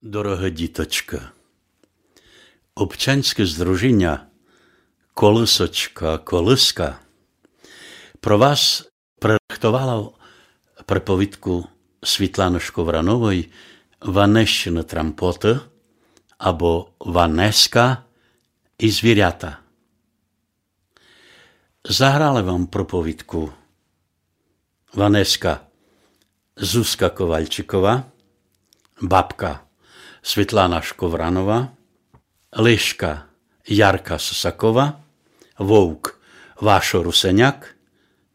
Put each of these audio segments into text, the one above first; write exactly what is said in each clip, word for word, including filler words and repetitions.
Дорогы діточкы, Обчаньскє здружіня Колысочка-Колыска про вас прирыхтовало приповідку Світланы Шковрановой «Ванесчыны трампоты» або «Ванеска і звірята». Заграли вам приповідку Ванеска Зузка Ковальчикова, бабка Світлана Шковранова, лишка Ярка Сосакова, вовк Вашо Русеняк,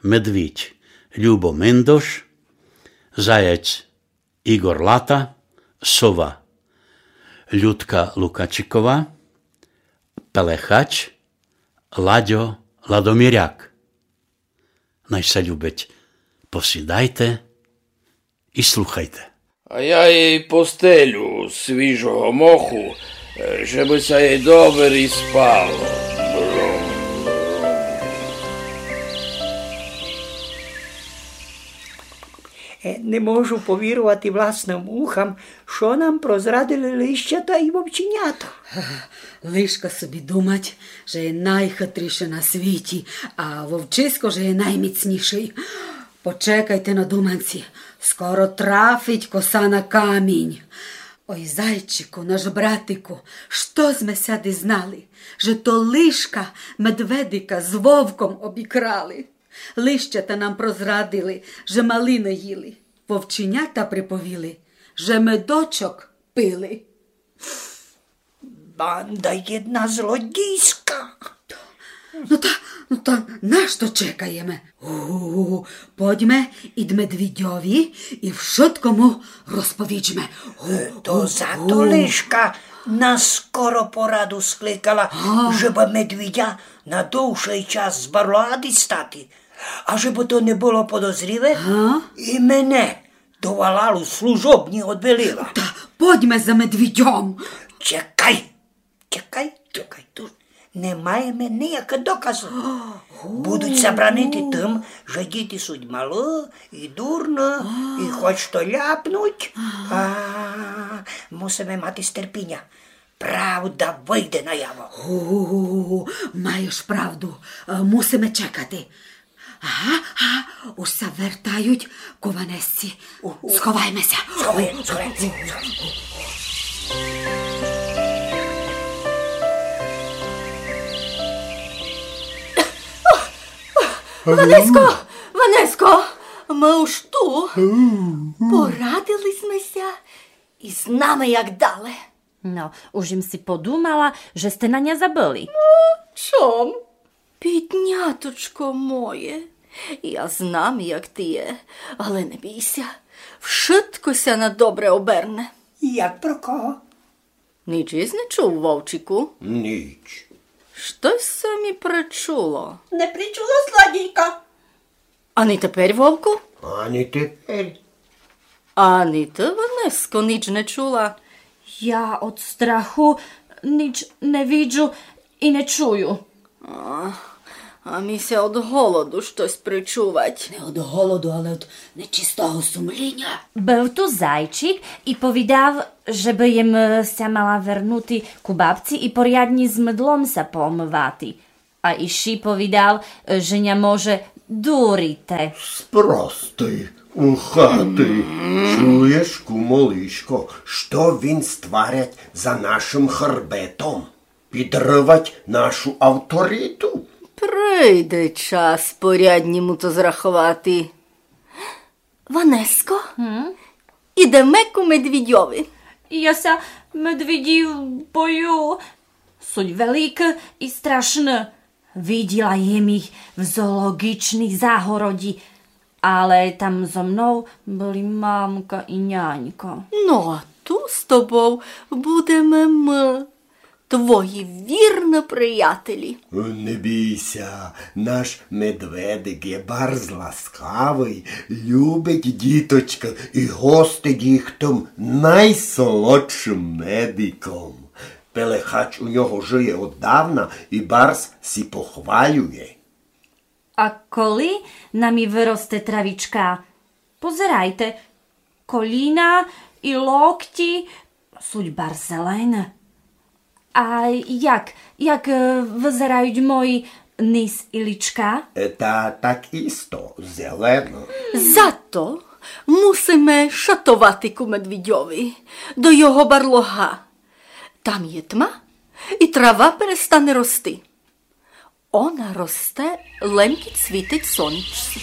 медвідь Любо Миндош, заєць Ігор Лата, сова Людка Лукачикова, пелехач Ладьо Ладоміряк. Най ся любить, посідайте і слухайте. А я їй постелю свіжого моху, е, жебы ся їй добрі спало. Е, не можу повірувати власным ухам, што нам прозрадили лищата і вовченята. Лишка собі думать, же є найхитрішый на світі, а вовчисько, же є найміцнішый. Почекайте на думанці, скоро трафить коса на камінь. Ой, зайчику, наш братику, што зме ся дізнали, же то лишка медведика з вовком обікрали. Лищата нам прозрадили, же малины їли. Вовченята приповіли, же медочок пили. Банда єдна злодійска. Но та, но та нашто чекаєме? Гу-гу-гу. Подьме ид медвідьови і вшытко му розповіджме. Гу-гу-гу. То зато лишка нас скоро пораду скликала, жебы медвідя на довшый час з барлога дістати. А жебы то не было подозріве, і мене до валалу служобні одвелила. Та подьме за медвідьом. Чекай, чекай, чекай, туй не маєме ниякых доказув. Будуть ся бранити тым, же діти суть малы і дурны, і хоч што ляпнуть, а, мусиме мати стерпіня. Правда выйде наяву. Гу-гу-гу-гу, маєш правду. Е, мусиме чекати. Ага, ага, уж ся вертають ку Ванесці. Сховайме ся. Сховай, сховай, сховай. Ванеско, Ванеско, мы уж ту. Порадили сьме ся і знаме, як дале. Но, уж єм си подумала, же сте на ня забыли. Но, чом? Бідняточко моє, я знам, як ти є, але не бій ся, вшытко ся на добре оберне. Як про кого? Ніч єсь не чув, вовчику? Ніч. Штось ся мі причуло. Не причуло, злодійко? Ані теперь, вовку? Ані теперь. Ані ты, Ванеско, ніч не чула? Я од страху ніч не виджу і не чую. А, а мі ся од голоду штось причувать. Не од голоду, але од нечистого сумліня. Быв ту зайчик і повідав, жебы єм ся мала вернути ку бабці і порядні з мыдлом ся поомывати. А іщи повідав, же ня може дурити. Спрости, ухатий. Чуєш, кумо лишко, што він створять за нашым хребетом? Підривать нашу авториту? Прийде час порядні му то зраховати. Ванеско, ідеме ку медвідьови. Я ся медвідів бою. Суть великы і страшны. Виділа єм їх в зоологічній загороді, але там зо мнов были мамка і нянька. Но, а ту з тобов будеме мы, твої вірны приятелі. Не бій ся, наш медведик є барз ласкавый, любить діточкы і гостить їх тым найсолодшым медиком. Пелехач у нього жиє оддавна і барз сі похвалює. А коли на мі выросте травічка? Позерайте, коліна і локті Суть барз зелені. А як, як, е, вызерають мої низ і личка? Е, та так исто, зелено. Зато мусиме шатовати ку медвідьови, до його барлога. Там є тма, і трава перестане рости. Она росте, лем кідь світить сонце.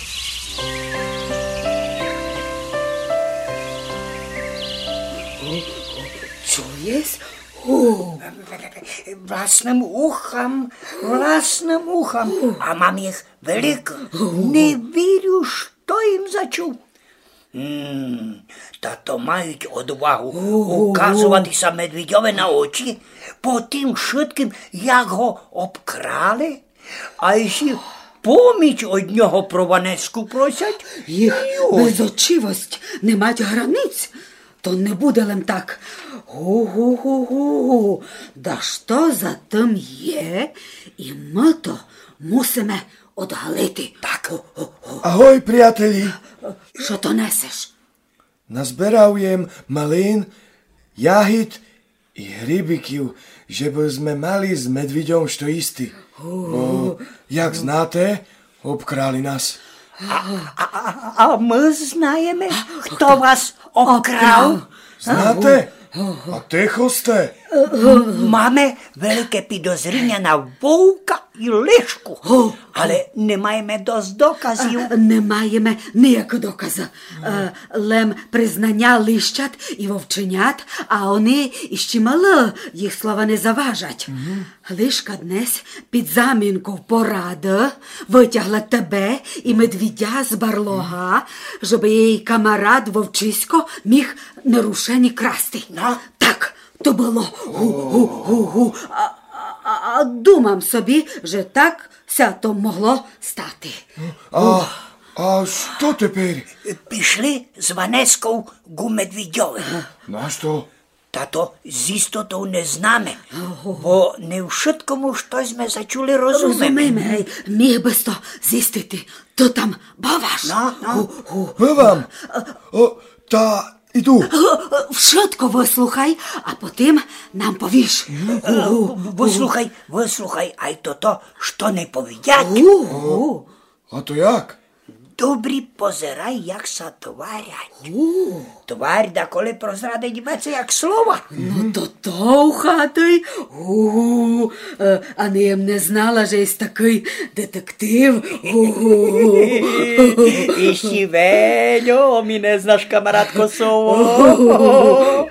Цо єст? О! Власным ухам, власным ухам. А мам їх великых. Не вірю, што єм зачув. М, та то мають одвагу указовати ся медвідьови на очі, по тым вшыткым, як го обкрали, а іщи поміч од нього про Ванеску просять. Їх безочивость не мать границь, то не буде лем так. Гу-гу-гу-гу. Да што за тым є, і мы то мусиме одгалити. Так. О, о, о. Агой, приятелі. Што то несеш? Назберав єм малин, ягід і грибиків, жебы зме мали з медвідьом што їсти. О. Бо, як знате, обкрали нас. А, а, а, а мы знаєме, хто вас обкрав? Знате? А тихо сте. Маме велике підозріня на вовка і лишку. О. Але не маєме дост доказів. А, не маєме ниякы доказы. Е, лем признаня лищат і вовченят, а они іщи малы, їх слова не заважать. Лишка днес під замінков порады вытягла тебе і медвідя з барлога, жебы єй камарат вовчисько міг нерушені красти. Но? Так, то было. Гу, гу, гу, гу. А, а, а, а думам собі, же так ся то могло стати. А, а што тепер? Пішли з Ванесков ку медвідьови. Нашто? Та то з істотов не знаме, бо не вшыткому, што зме зачули, розумиме. Розумиме, гей, міг быс то зістити. Ты там бываш? Но, но. Гу, гу. Бывам. О, та іду. Е, е, вшытко выслухай, а потым нам повіш. Е, выслухай, выслухай, ай тото, што не повідять. О, а то як? Добрі позирай, як ся тварять. Тварь даколи прозрадить веце, як слова. Но то то ухатый. Е, а ні єм не знала, же єст такый детектив. Іщи вельо мі не знаш, камаратко сово.